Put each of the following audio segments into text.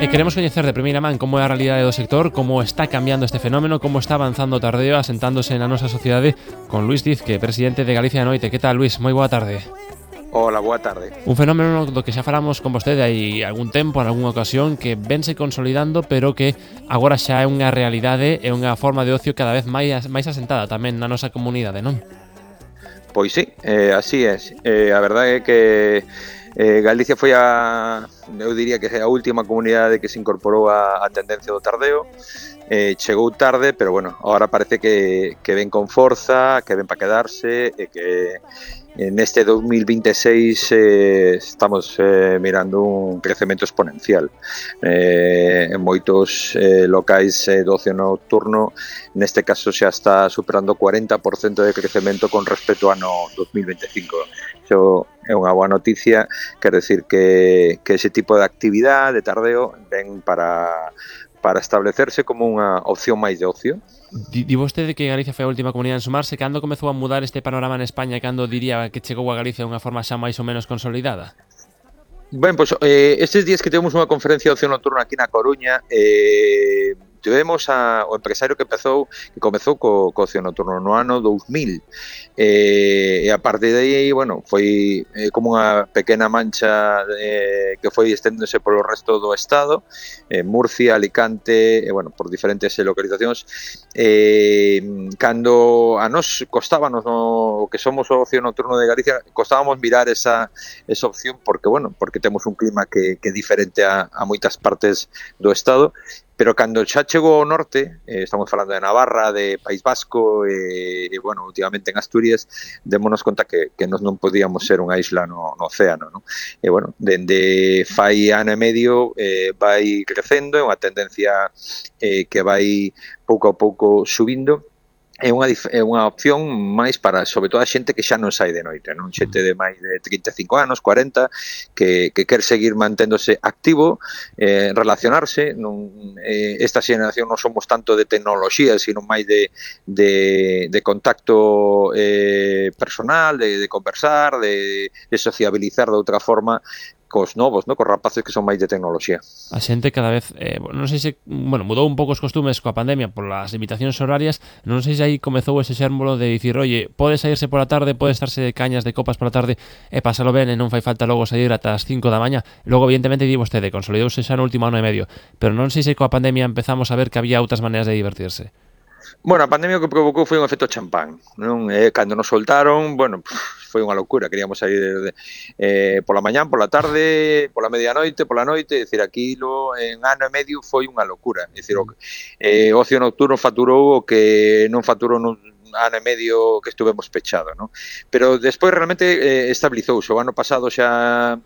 Queremos coñecer de primeira man como é a realidade do sector, como está cambiando este fenómeno, como está avanzando o tardeo asentándose na nosa sociedade con Luís Diz, que é presidente de Galicia Noite. Que tal, Luís? Moi boa tarde. Hola, boa tarde. Un fenómeno do que xa falamos con vostede hai algún tempo, en algunha ocasión, que vense consolidando, pero que agora xa é unha realidade e unha forma de ocio cada vez máis asentada tamén na nosa comunidade, non? Pois sí, así é. A verdade é que Galicia foi eu diría que a última comunidade que se incorporou a tendencia do tardeo. Chegou tarde, pero bueno, ahora parece que ven con forza, que ven para quedarse e que neste 2026 estamos mirando un crecemento exponencial. En moitos locais do ocio nocturno, neste caso xa está superando o 40% de crecemento con respecto ao ano 2025. Iso é unha boa noticia, quer decir que ese tipo de actividade, de tardeo, ven para establecerse como unha opción máis de ocio. Di vostede que Galicia foi a última comunidade en sumarse. Cando comezou a mudar este panorama en España e cando diría que chegou a Galicia de unha forma xa máis ou menos consolidada? Ben, pois estes días que temos unha conferencia de ocio nocturno aquí na Coruña, tivemos o empresario que comezou co ocio nocturno no ano 2000, e a partir de aí, bueno, foi como unha pequena mancha que foi estendéndose polo resto do estado, Murcia, Alicante, bueno, por diferentes localizacións. Cando a nós costábanos, o que somos o ocio nocturno de Galicia, costábamos mirar esa opción porque, bueno, porque temos un clima que é diferente a moitas partes do estado, pero cando xa chegou ao norte, estamos falando de Navarra, de País Vasco e bueno, últimamente en Asturias, démonos conta que nós non podíamos ser unha isla no océano, non? E bueno, dende fai ano e medio vai crecendo, é unha tendencia que vai pouco a pouco subindo. É unha opción máis para, sobre todo, a xente que xa non sai de noite, non? Xente de máis de 35 anos, 40, que quer seguir manténdose activo, relacionarse. Esta xeración non somos tanto de tecnoloxía, sino máis de contacto personal, de conversar, de sociabilizar de outra forma cos novos, no? Cos rapaces que son máis de tecnoloxía. A xente cada vez, non sei se, bueno, mudou un pouco os costumes coa pandemia polas limitacións horarias, non sei se aí comezou ese xérmolo de dicir, oye, pode saírse pola tarde, pode estarse de cañas de copas pola tarde e pasalo ben e non fai falta logo sair ata as 5 da mañá. Logo, evidentemente, di vostede, consolidouse xa no último ano e medio, pero non sei se coa pandemia empezamos a ver que había outras maneiras de divertirse. Bueno, a pandemia o que provocou foi un efecto champán, non? Cando nos soltaron, bueno, foi unha locura, queríamos sair pola mañán, pola tarde, pola medianoite, pola noite, é dicir, aquilo en ano e medio foi unha locura, é dicir, o ocio nocturno faturou o que non faturou nun ano e medio que estuvemos pechados, non? Pero despois realmente estabilizouse. O ano pasado xa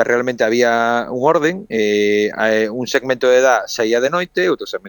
realmente había un orden, un segmento de edad saía de noite, outro segmento